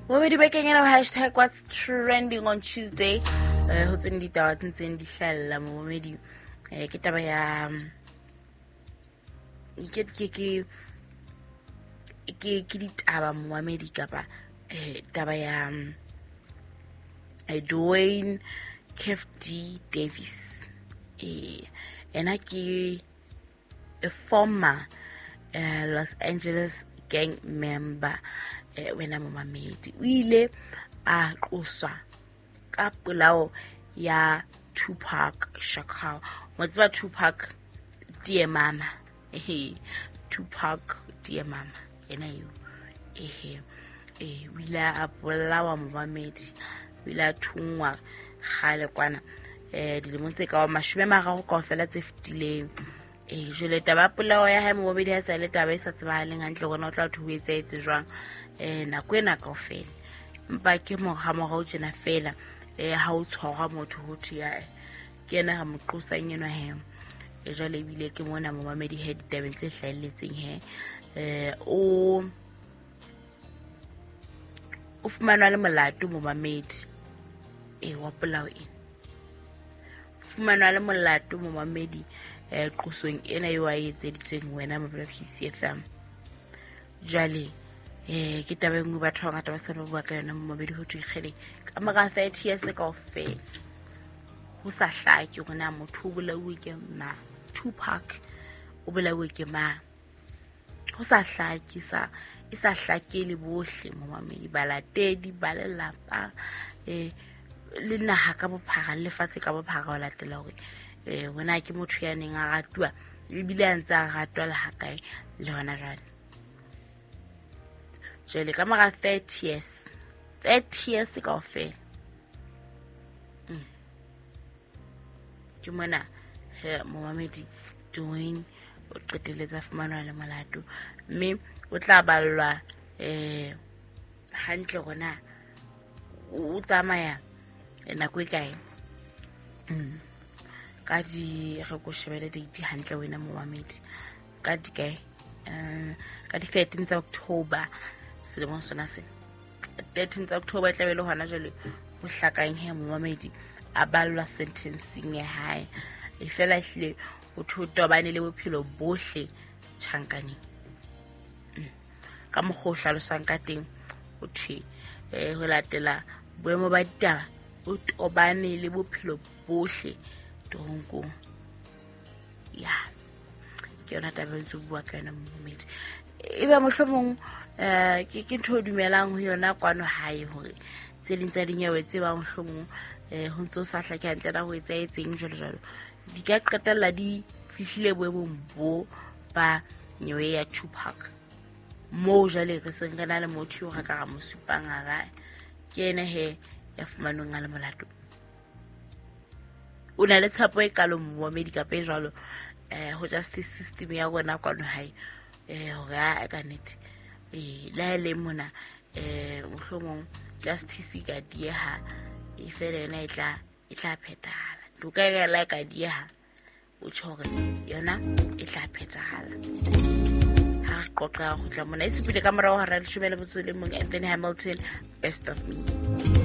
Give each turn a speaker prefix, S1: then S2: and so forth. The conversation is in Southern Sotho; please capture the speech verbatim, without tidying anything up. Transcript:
S1: Momedi bekeng ena hashtag what's trending on Tuesday. Eh ho tseng ditaba tse ntseng di hlahella momedi. Eh ke taba ya ke ke ke ke ke ditaba momedi kapa eh taba ya eh Dwayne Keith D Davis. Eh ena ke a former uh, Los Angeles gang member. Eh wena momamedi o ile a qoswa ka polao ya Tupac Shakur. Mo tseba Tupac dear mama. Ehe, Tupac dear mama ena eo. Ehe, eh o ile a bolawa momamedi, o ile a thungwa kgale kwana eh dilemong tse ka mashome a mararo kaofela tse fetileng. Eh jwale taba polao ya hae momamedi ha sa le taba e sa tsebahaleng hantle hore na o tla thwe ho etsahetse jwang eh nako ena kaofela. Empa ke morao tjena fela eh ha o tshwarwa motho ho thwe ya ke yena re mo qosang enwa he. E jwale ebile ke mona momamedi he ditabeng tse hlahelletseng he eh o o fumanwa le molato momamedi eh wa polao ena. Fumanwa le molato momamedi eh qosong ena eo a etseditsweng wena mabala P C F M. Jwale eh ke taba e nngwe batho ba bangata ba sa ba bua ka yona momamedi ho thwe kgele ka mora thirty years kaofela ho sa hlake hore na motho o bolauwe ke mang, Tupac o bolauwe ke mang, ho sa hlake sa e sa hlakele bohle momamedi, balatedi ba lelapa eh le naha ka bophara le lefatshe ka bophara ho latela hore eh wena ke motho ya neng a ratuwa ebile a ntse a ratwa le hakae le hona jwale. Jwale ka mora thirty years, thirty years kaofela. Mm. Ke mona he momamedi Dwayne o qetelletse a fumanwa le molato mme o tla ballwa eh hantle hore o tsamaya nako e kae. Mm. Ka di re ko shebele date hantle wena momamedi ka di kae eh ka di thirteenth tsa October selemong sona sena. thirteenth tsa October e tla be le hona jwale ho hlakang he momamedi a ballwa sentencing ya hae. E fela ehlile o thotobane le bophelo bohle tjhankaneng. Mm. Ka mokgwa o hlaloswang ka teng o thwe eh ho latela boemo ba ditaba o tobane le bophelo bohle toronkong. Ya ke yona taba e ntse bua ka yona momamedi. Ebe mohlomong eh ke ke ntho o dumelang ho yona kwano hae hore tse ding tsa dinyewe tse bang mohlomong eh ho ntso sa hlake hantle na ho etsahetseng jwalo jwalo di ka qetella di fihlile boemong bo ba nyewe ya Tupac moo jwale re seng re na le motho eo re ka ra mo supang hara ke ena he ya fumanweng a le molato. O na le tshepo e kalo momamedi kapa e jwalo eh ho justice system ya rona kwano hae eh hore a ka nnete eh le ha le mona eh mohlomong justice ka dieha e fela yona e tla e tla phethahala. Toka e la ka dieha o tjho hore yona e tla phethahala. Ha re qoqa ho tla mona e supile ka morao hora leshome le motso le mong Anthony Hamilton, Best of Me.